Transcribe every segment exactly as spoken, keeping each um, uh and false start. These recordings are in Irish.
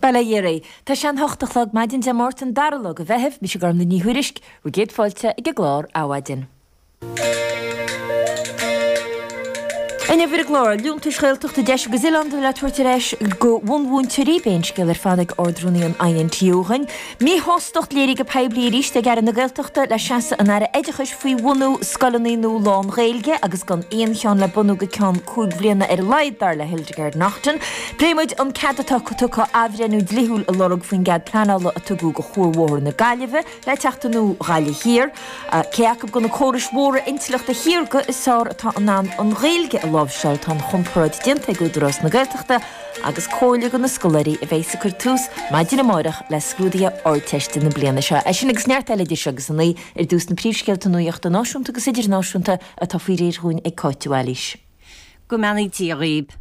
Bail ó Dhia oraibh. Tá sé an hocht a chlog maidin Dé Máirt an dara lá de Mheitheamh, mise Gormlaith Ní Thuairisg, bhur gcéad fáilte ag an gclár Adhmhaidin. Inniu ar an gclár, liúntais Ghaeltachta deis agus oileánda le tabhairt ar ais go bhunmhúinteoirí, beidh an scéal ar fad ag Ard-Rúnaí an INTU dhúinn. Míshástacht léirithe go poiblí arís ag Aire na Gaeltachta le seasamh an Aire Oideachais faoi bhunú scoileanna nua lán-Ghaeilge agus gan aon cheann le bunú go ceann cúig bhliana ar a laghad, dar le Hildegarde Naughton. Pléifidh muid an cead atá tugtha athbhreithniú dlíthiúil a lorg faoin gcead pleanála a tugadh do Chuarbhóthar na Gaillimhe le teacht i nua Ghaillimh Thiar. Cé acu de na córais mhóra intleachta shaorga is fearr atá in ann an Ghaeilge a láimhseáil, tá an chomparáid déanta ag Údarás na Gaeltachta agus comhairle do na scoláirí a bheas ag cur tús maidin amárach le scrúduithe Ardteiste na bliana seo. É sin agus neart eile idir seo agus a naoi ar dtús na príomhscéalta nuachta náisiúnta agus idirnáisiúnta atá faoi réir dhúinn ag Cáit de Bhailís. Go mbeannaí Dia dhaoib.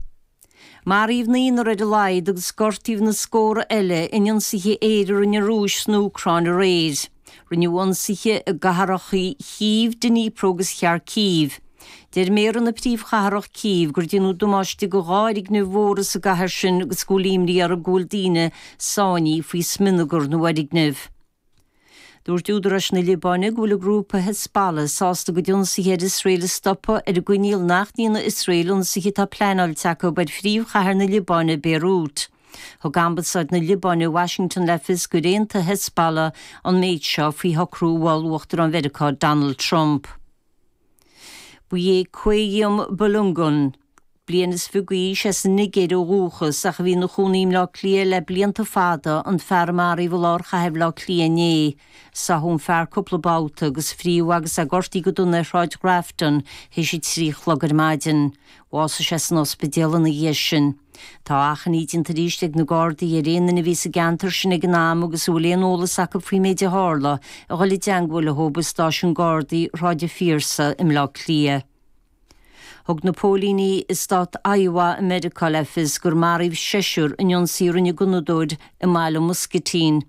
Maraíodh naonúr ar a laghad agus gortaíodh na scórtha eile in ionsaithe aeir a rinne an Rúis san Úcráin aréir. Rinneadh ionsaithe i gcathracha Chív, Dnipro agus Kharkiv. Deir méara na príomhchathrach Cív gur déanadh damáiste go dhá fhoirgneamh mhóra sa gcathair sin agus go bhfuil imní orthu go bhfuil daoine sáinnithe faoi smionagar na bhfoirgneamh. Dúirt údaráis na Liobáine go bhfuil an grúpa Hezbollah sásta a gcuid ionsaithe ar Iosrael a stopadh ar an gcoinníoll nach ndéanfaidh Iosrael ionsaithe atá pleanáilte acu ar phríomhchathair na Liobáine, Béirút. Thug Ambasáid na Liobáine i Washington le fios gur aontaigh Hezbollah an méid seo faoi shocrú a mhol Uachtarán Mheiriceá Donald Trump. Ba é Qayyum Balogun, bliain is fiche d'aois as an Nigéir ó dhúchas ach a bhí ina chónaí i mBleá Cliath le blianta fada, an fear a maraíodh i lár chathair Bhaile Átha Cliath inné. Sáthadh an fear cúpla babhta agus fríothadh agus é gortaithe go dona ar Shráid Grafton théis a trí a chlog ar maidin. Bhásaigh sé san ospidéal ina dhiaidh sin. Tá achainí déanta arís ag na Gardaí ar aon duine a bhí sa gceantar sin ag an am agus a bhfuil aon eolas acu faoin méid a tharla a dhul i dteangmháil leo i stáisiún Gardaí Shráid an Phiarsaigh i mBleá Cliath. Thug na póilíní i stát Iowa i Meiriceá le fios gur maraíodh seisear in ionsaí a rinne gunnadóir i mbaile Muscatine.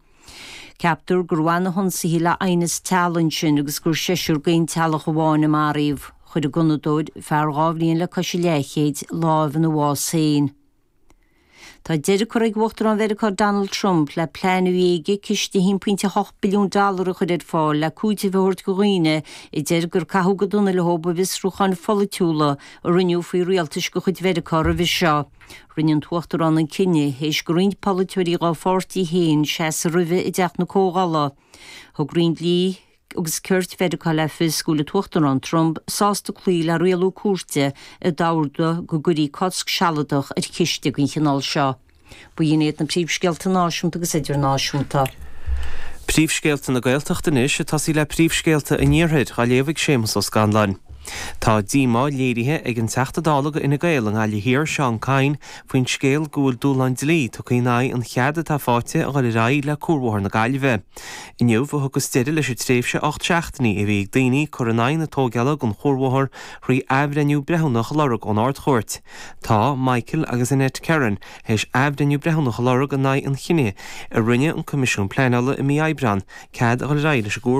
Ceaptar gur bhain na hionsaithe le aighneas teaghlaigh ansin agus gur seisear d'aon teaghlach amháin a maraíodh. Chuir an gunnadóir, fear dhá bhliain le cois a leathchéid, lámh ina bhás féin. Tá deireadh curtha ag Uachtarán Mheiriceá Donald Trump le plean a bhí aige ciste a haon pointe a hocht billiún dollar a chur ar fáil le cúiteamh a thabhairt do dhaoine a deir gur caitheadh go dona leo i bhfiosrúcháin pholaitiúla a rinneadh faoi rialtais de chuid Mheiriceá roimhe seo. Rinne an tUachtarán an cinneadh théis do roinnt polaiteoirí dá pháirtí féin seasamh roimhe i dTeach na Comhdhála. Thug Roinn Dlí agus Cirt Mheiriceá le fios go bhfuil an tUachtarán Trump sásta cloí le rialú cúirte a d'ordaigh go gcuirfí cosc sealadach ar chiste den chineál seo. B'in iad na príomhscéalta náisiúnta agus idirnáisiúnta. Príomhscéalta na Gaeltachta anois ag tosaí le príomhscéalta an Iarthair, á léamh ag Séamus Ó Scanláin. Tá díomá léirithe ag an Teachta Dála do Fhine Gael i nGaillimh Thiar, Seán Kyne, faoin scéal go bhfuil dúshlán dlí tugtha in aghaidh an chead atá faighte a dhul ar aghaidh le Cuarbhóthar na Gaillimhe. Inniu a thiocfas deireadh leis an tréimhse ocht seachtainí a bhí ag daoine cur in aghaidh na tógála den chuarbhóthar thrí athbhreithniú breithiúnach a lorg ón Ard-Chúirt. Tá Michael agus Annette Kerrin théis athbhreithniú breithiúnach a lorg in aghaidh an chinnidh a rinne an Coimisiún Pleanála i mí Aibreáin cead a dhul ar aghaidh leis an gcuarbhóthar.